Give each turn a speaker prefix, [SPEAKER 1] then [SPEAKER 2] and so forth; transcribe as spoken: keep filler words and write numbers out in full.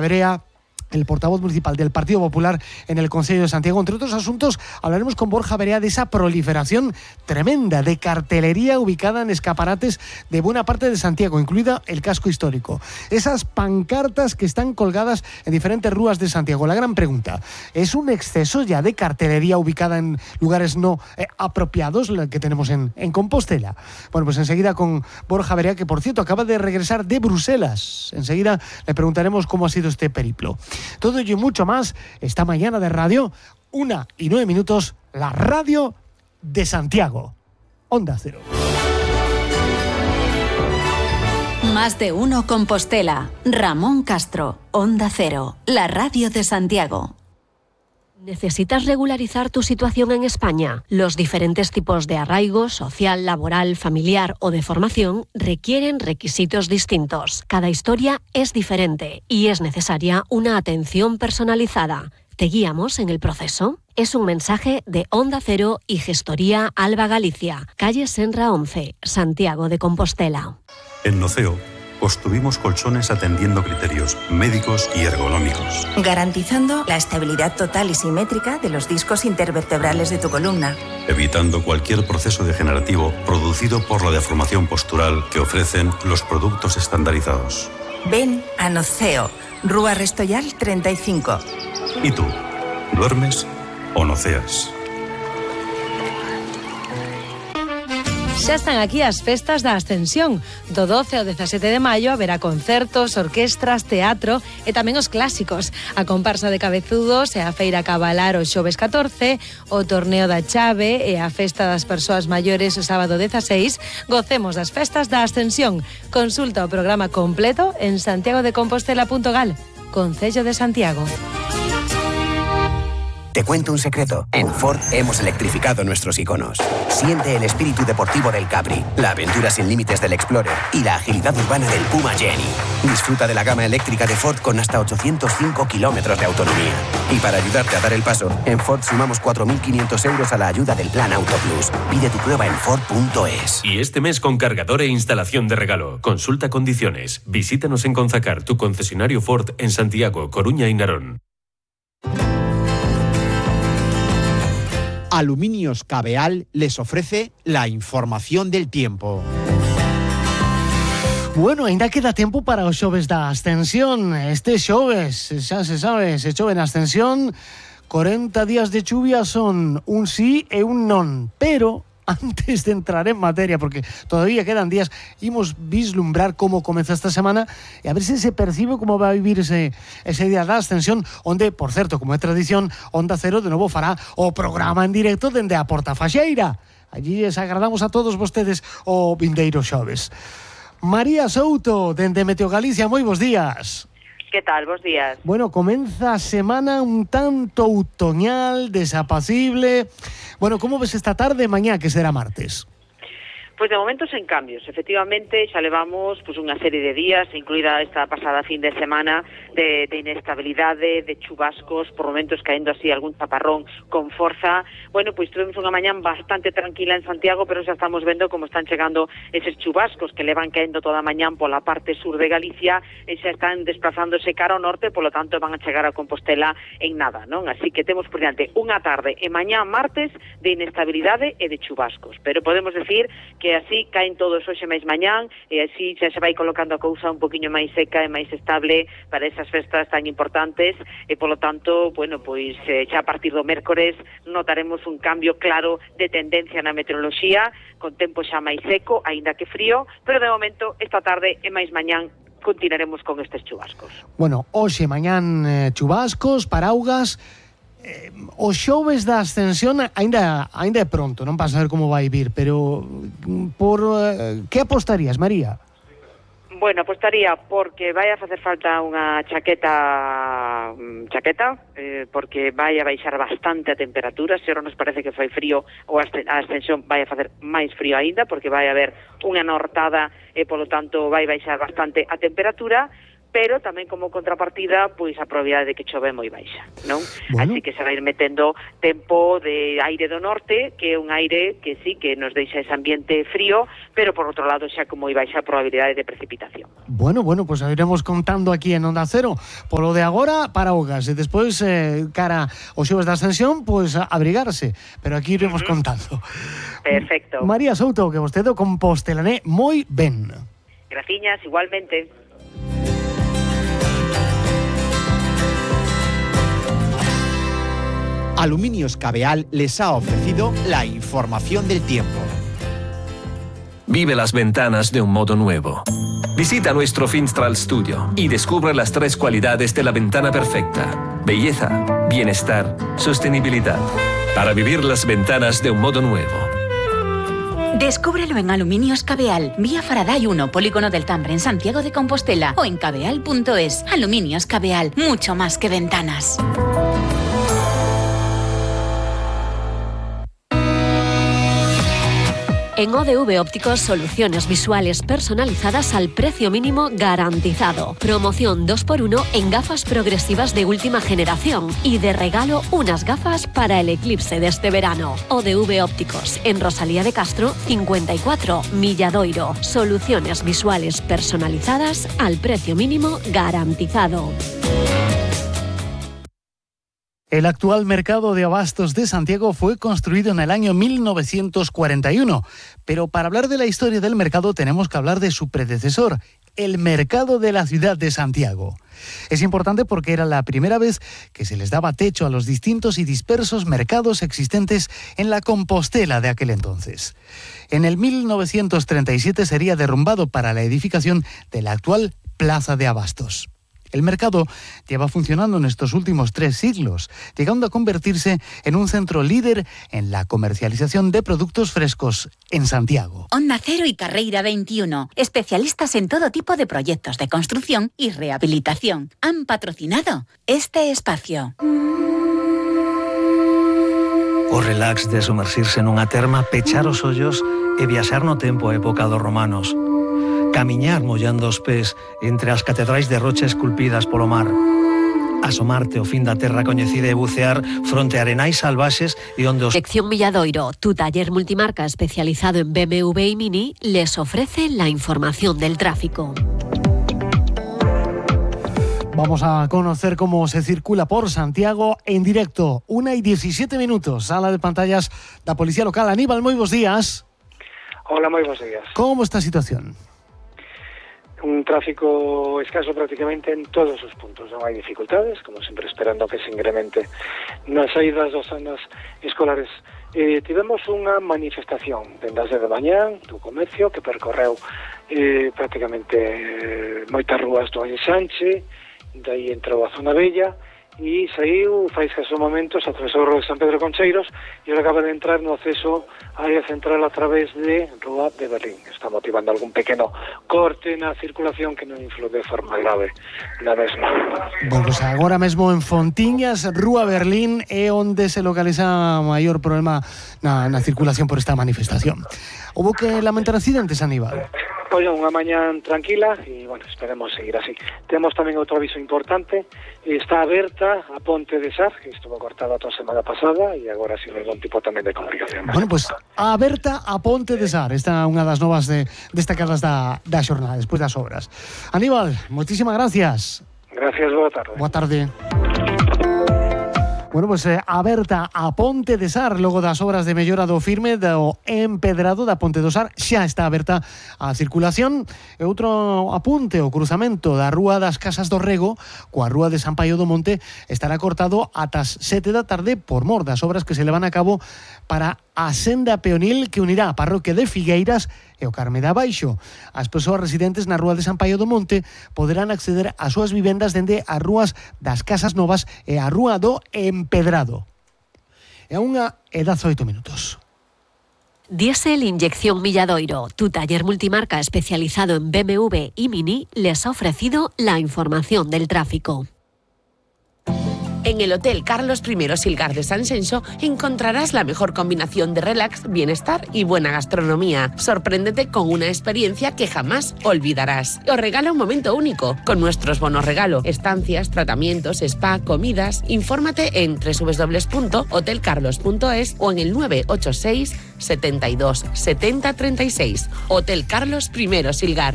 [SPEAKER 1] Verea, el portavoz municipal del Partido Popular en el Concello de Santiago. Entre otros asuntos, hablaremos con Borja Verea de esa proliferación tremenda de cartelería ubicada en escaparates de buena parte de Santiago, incluida el casco histórico. Esas pancartas que están colgadas en diferentes rúas de Santiago. La gran pregunta, ¿es un exceso ya de cartelería ubicada en lugares no eh, apropiados, la que tenemos en, en Compostela? Bueno, pues enseguida con Borja Verea, que por cierto acaba de regresar de Bruselas. Enseguida le preguntaremos cómo ha sido este periplo. Todo ello y mucho más esta mañana de radio, una y nueve minutos, la radio de Santiago. Onda Cero.
[SPEAKER 2] Más de uno Compostela. Ramón Castro, Onda Cero, la radio de Santiago.
[SPEAKER 3] ¿Necesitas regularizar tu situación en España? Los diferentes tipos de arraigo, social, laboral, familiar o de formación requieren requisitos distintos. Cada historia es diferente y es necesaria una atención personalizada. ¿Te guiamos en el proceso? Es un mensaje de Onda Cero y Gestoría Alba Galicia, calle Senra once, Santiago de Compostela.
[SPEAKER 4] En Noceo construimos colchones atendiendo criterios médicos y ergonómicos,
[SPEAKER 5] garantizando la estabilidad total y simétrica de los discos intervertebrales de tu columna,
[SPEAKER 4] evitando cualquier proceso degenerativo producido por la deformación postural que ofrecen los productos estandarizados.
[SPEAKER 5] Ven a Noceo, Rúa Restoyal treinta y cinco.
[SPEAKER 4] ¿Y tú? ¿Duermes o noceas?
[SPEAKER 6] Xa están aquí as festas da Ascensión. Do doce ao dezasete de maio haberá concertos, orquestras, teatro e tamén os clásicos. A comparsa de cabezudos e a feira cabalar o xoves catorce, o torneo da chave e a festa das persoas maiores o sábado dezaseis. Gocemos das festas da Ascensión. Consulta o programa completo en santiago de compostela punto gal. Concello de Santiago.
[SPEAKER 7] Te cuento un secreto. En Ford hemos electrificado nuestros iconos. Siente el espíritu deportivo del Capri, la aventura sin límites del Explorer y la agilidad urbana del Puma Jenny. Disfruta de la gama eléctrica de Ford con hasta ochocientos cinco kilómetros de autonomía. Y para ayudarte a dar el paso, en Ford sumamos cuatro mil quinientos euros a la ayuda del Plan Auto Plus. Pide tu prueba en Ford punto es.
[SPEAKER 8] Y este mes con cargador e instalación de regalo. Consulta condiciones. Visítanos en Conzacar, tu concesionario Ford en Santiago, Coruña y Narón.
[SPEAKER 9] Aluminios Cabeal les ofrece la información del tiempo.
[SPEAKER 1] Bueno, ainda queda tempo para os xoves da Ascensión. Este xoves, xa se sabe, se chove na Ascensión, cuarenta días de chuvia son un sí e un non. Pero antes de entrar en materia, porque todavía quedan días, imos vislumbrar como comeza esta semana e a ver se se percibe como va a vivir ese, ese día da Ascensión, onde, por certo, como é tradición, Onda Cero de novo fará o programa en directo dende a Porta Faxeira. Allí les agradamos a todos vostedes o vindeiro xoves. María Souto, dende Meteo Galicia, moi bons días.
[SPEAKER 10] Que tal? Bos días.
[SPEAKER 1] Bueno, comeza a semana un tanto outoñal, desapacible. Bueno, como ves esta tarde, mañá, que será martes?
[SPEAKER 10] Pois de momento sen cambios, efectivamente xa levamos pois, unha serie de días, incluída esta pasada fin de semana, de, de inestabilidade, de chubascos, por momentos caendo así algún chaparrón con forza. Bueno, pois tuvemos unha mañán bastante tranquila en Santiago, pero xa estamos vendo como están chegando eses chubascos que levan caendo toda a mañán pola parte sur de Galicia e xa están desplazándose cara ao norte, polo tanto van a chegar a Compostela en nada, non? Así que temos por diante unha tarde e mañán martes de inestabilidade e de chubascos, pero podemos decir que así caen todos hoxe máis mañán e así xa se vai colocando a cousa un poquinho máis seca e máis estable para esas festas tan importantes e polo tanto, bueno, pois eh, xa a partir do mércores notaremos un cambio claro de tendencia na meteoroloxía, con tempo xa máis seco, aínda que frío, pero de momento esta tarde e máis mañán continuaremos con estes chubascos.
[SPEAKER 1] Bueno, hoxe mañán eh, chubascos, paraugas. Eh, o xoves da Ascensión aínda aínda é pronto, non para saber como vai vir, pero por eh, que apostarías, María?
[SPEAKER 10] Bueno, apostaría porque vai a facer falta unha chaqueta chaqueta, eh, porque vai a baixar bastante a temperatura. Se ora nos parece que fai frío, ou a Ascensión vai a facer máis frío aínda, porque vai haber unha nortada e, polo tanto, vai baixar bastante a temperatura. pero tamén como contrapartida, pois a probabilidade de que chove é moi baixa, non?
[SPEAKER 1] Bueno.
[SPEAKER 10] Así que se vai ir metendo tempo de aire do norte, que é un aire que sí, que nos deixa ese ambiente frío, pero por outro lado xa con moi baixa probabilidade de precipitación.
[SPEAKER 1] Bueno, bueno, pues iremos contando aquí en Onda Cero. Por lo de agora, paraugas, e despois, eh, cara aos xoves da Ascensión, pois pues, abrigarse, pero aquí iremos uh-huh. contando.
[SPEAKER 10] Perfecto.
[SPEAKER 1] María Souto, que vostede o compostelané moi ben.
[SPEAKER 10] Graciñas, igualmente.
[SPEAKER 9] Aluminios Cabeal les ha ofrecido la información del tiempo.
[SPEAKER 11] Vive las ventanas de un modo nuevo. Visita nuestro Finstral Studio y descubre las tres cualidades de la ventana perfecta: belleza, bienestar, sostenibilidad. Para vivir las ventanas de un modo nuevo.
[SPEAKER 12] Descúbrelo en Aluminios Cabeal, vía Faraday uno, Polígono del Tambre, en Santiago de Compostela, o en cabeal punto es. Aluminios Cabeal, mucho más que ventanas.
[SPEAKER 3] En O D V Ópticos, soluciones visuales personalizadas al precio mínimo garantizado. Promoción dos por uno en gafas progresivas de última generación y de regalo unas gafas para el eclipse de este verano. O D V Ópticos, en Rosalía de Castro, cincuenta y cuatro, Milladoiro. Soluciones visuales personalizadas al precio mínimo garantizado.
[SPEAKER 1] El actual mercado de abastos de Santiago fue construido en el año mil novecientos cuarenta y uno, pero para hablar de la historia del mercado tenemos que hablar de su predecesor, el mercado de la ciudad de Santiago. Es importante porque era la primera vez que se les daba techo a los distintos y dispersos mercados existentes en la Compostela de aquel entonces. En el mil novecientos treinta y siete sería derrumbado para la edificación de la actual Plaza de Abastos. El mercado lleva funcionando en estos últimos tres siglos, llegando a convertirse en un centro líder en la comercialización de productos frescos en Santiago.
[SPEAKER 12] Onda Cero y Carreira veintiuno, especialistas en todo tipo de proyectos de construcción y rehabilitación, han patrocinado este espacio.
[SPEAKER 13] O relax de sumerxirse nunha terma, pechar os ollos e viaxar no tempo a época dos romanos. Camiñar mollando os pés entre as catedrais de rocha esculpidas polo mar. Asomarte ao fin da terra coñecida e bucear fronte a arenais salvaxes e onde os...
[SPEAKER 3] Sección Milladoiro, tu taller multimarca especializado en B M W y Mini, les ofrece la información del tráfico.
[SPEAKER 1] Vamos a conocer cómo se circula por Santiago en directo. Una y diecisiete minutos. Sala de pantallas da Policía Local. Aníbal, moi bons días.
[SPEAKER 14] Hola, moi bons días.
[SPEAKER 1] Como está a situación?
[SPEAKER 14] Un tráfico escaso prácticamente en todos os puntos. Non hai dificultades, como sempre esperando que se incremente nas saídas das zonas escolares. Eh, tivemos unha manifestación dende as dez de mañán do comercio que percorreu eh, prácticamente eh, moitas rúas do Ensanche, daí entrou a Zona Bella e saiu fai escasos momentos, atravesou o Rua de San Pedro Concheiros e ahora acaba de entrar no acceso á área central a través de Rúa de Berlín. Está motivando algún pequeno corte na circulación que non influe de forma grave na mesma.
[SPEAKER 1] Bueno, pues agora mesmo en Fontiñas, Rúa Berlín é onde se localiza maior problema na, na circulación por esta manifestación. Houbo que lamentar accidentes, Aníbal?
[SPEAKER 14] Pois unha mañán tranquila e, bueno, esperemos seguir así. Temos tamén outro aviso importante. Está aberta a Ponte de Sar, que estuvo cortada toda a semana pasada e agora sin ningún tipo tamén de complicación.
[SPEAKER 1] Bueno, pois pues, aberta a Ponte de Sar. Esta é unha das novas de, destacadas da, da xornada, despois das obras. Aníbal, moitísimas gracias.
[SPEAKER 14] Gracias, boa tarde.
[SPEAKER 1] Boa tarde. Bueno, pues eh, aberta a Ponte de Sar logo das obras de mellora do firme do empedrado da Ponte do Sar, xa está aberta a circulación. E outro apunte, o cruzamento da Rúa das Casas do Rego coa Rúa de San Paio do Monte estará cortado ata as sete da tarde por mor das obras que se levan a cabo para a senda peonil que unirá a parroquia de Figueiras e o Carme de Abaixo. As persoas residentes na Rúa de San Paio do Monte poderán acceder ás súas vivendas dende as rúas das Casas Novas e a Rúa do Empedrado. E a unha e dezaoito minutos.
[SPEAKER 3] Diesel Inyección Milladoiro, tu taller multimarca especializado en B M W y Mini, les ha ofrecido la información del tráfico.
[SPEAKER 15] En el Hotel Carlos I Silgar de San Xenxo encontrarás la mejor combinación de relax, bienestar y buena gastronomía. Sorpréndete con una experiencia que jamás olvidarás. Os regala un momento único con nuestros bonos regalo, estancias, tratamientos, spa, comidas. Infórmate en doble u doble u doble u punto hotel carlos punto es o en el nueve ocho seis, setenta y dos, setenta, treinta y seis. Hotel Carlos I Silgar.